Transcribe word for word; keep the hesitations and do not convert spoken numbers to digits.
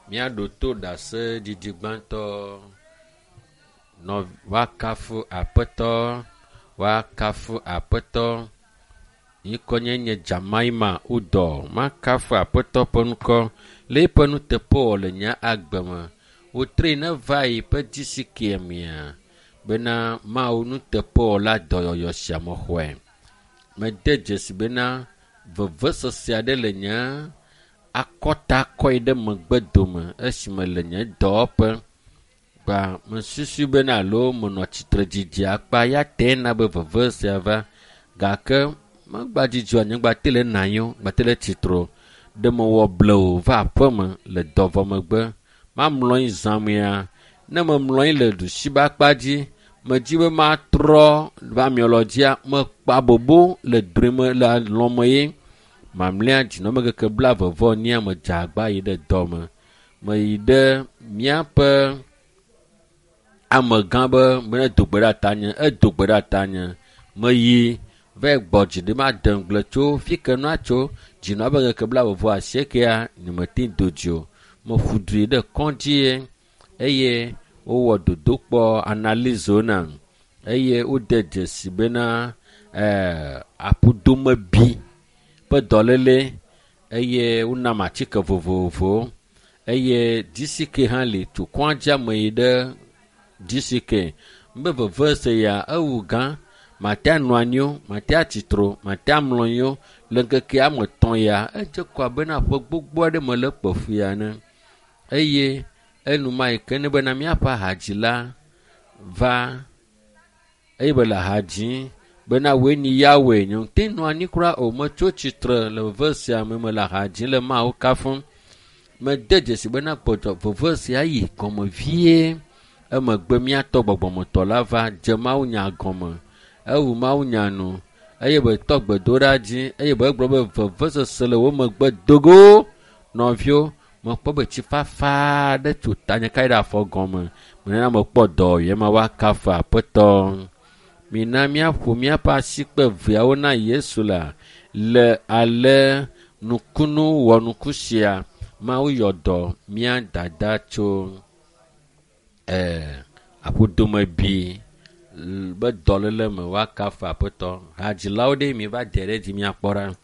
Míaɖo to ɖaseɖiɖi gbãtɔ nɔ woakafu aƒetɔ, woakafu aƒetɔ. Ŋkɔnye nye Jamaima Udɔ. Makafu aƒetɔ ƒe ŋkɔ le eƒe nuteƒewɔwɔ le nye agbe me. Wotree neva yi ƒe disike mea bena Mawu nuteƒewɔla dɔyɔyɔ sia mexɔe. Mede dzesi bena vevesese aɖe le nye akɔta kɔe ɖe megbe dome esime le nye dɔwɔƒe. Kpa mesusu bena alo menɔ tsitre didi akpa ya tee na be veve sia va gake megba dzidzɔ nye gbate le nɔ anyi o, gbate le tsitre o. Ɖe mewɔ blewu va aƒeme le dɔ vɔ megbe. Mamlɔ anyi zãmea, ne memlɔ anyi le ɖusi be akpa dzi, medzi be matrɔ va miɔlɔ dzia, mekpa bobo le drɔe me le alɔme ye. Mamlɛa dzinɔme keke blaeve vɔ enyia medze agba yi ɖe dɔme. Meyi ɖe míaƒe amegã be mene do gbe ɖe tanye, edo gbe ɖe tanye. Meyi va gbɔ dzi ɖi made ŋugble tso fi ke nua tso dzinɔ abe ŋkeke blaeve vɔ asiekea nyemete do dzi o. Meƒu du yi ɖe kɔdzi ye eye wowɔ dodokpɔ analizewo nam eye wode dzesi bena ɛɛ aƒudomebi ƒe dɔléle eye wonam atike vovovowo eye DCK hã li tso kɔdzia me yi ɖe DCK. Be veve se ya ewu gã mate anɔ anyi o, mate atsitre o, mate amlɔ anyi o. Le ŋkeke ame etɔ̃ ya edze kɔ abe na ƒe gbogbo aɖe mele kpe fu ya ene eye enuma yi ke ne bena míaƒe ahadzila va eye be le ha dzim bena woe nyi Yahweh nye ŋute nɔ anyi kura o metso tsitre le veve sia me mele ha dzim le Mawu kafum. Mede dzesi bena gbɔdzɔ veve sia yi gɔme vie. Emegbe míatɔ gbɔgbɔmetɔ la va dze mawunya gɔme. Ewu mawunya nu eye betɔ gbedoɖa dzi eye be egblɔ be vevesese le wo megbe dogo. Nɔviwo, mekpɔ be tsi fafa aɖe tso tanye ka yi ɖe afɔ gɔme. Menana mekpɔ dɔwɔyɛ ma woakafu aƒetɔ. Mina míaƒo míaƒe asikpe eveawo na Yesu la le ale nukunu wɔnuku sia. Mawu yɔ dɔ mía dada tso ɛɛ aƒudomebi be dɔléle me woakafu aƒetɔ. Hadzilawo ɖe mi va de ɖe dzi míakpɔ ɖa.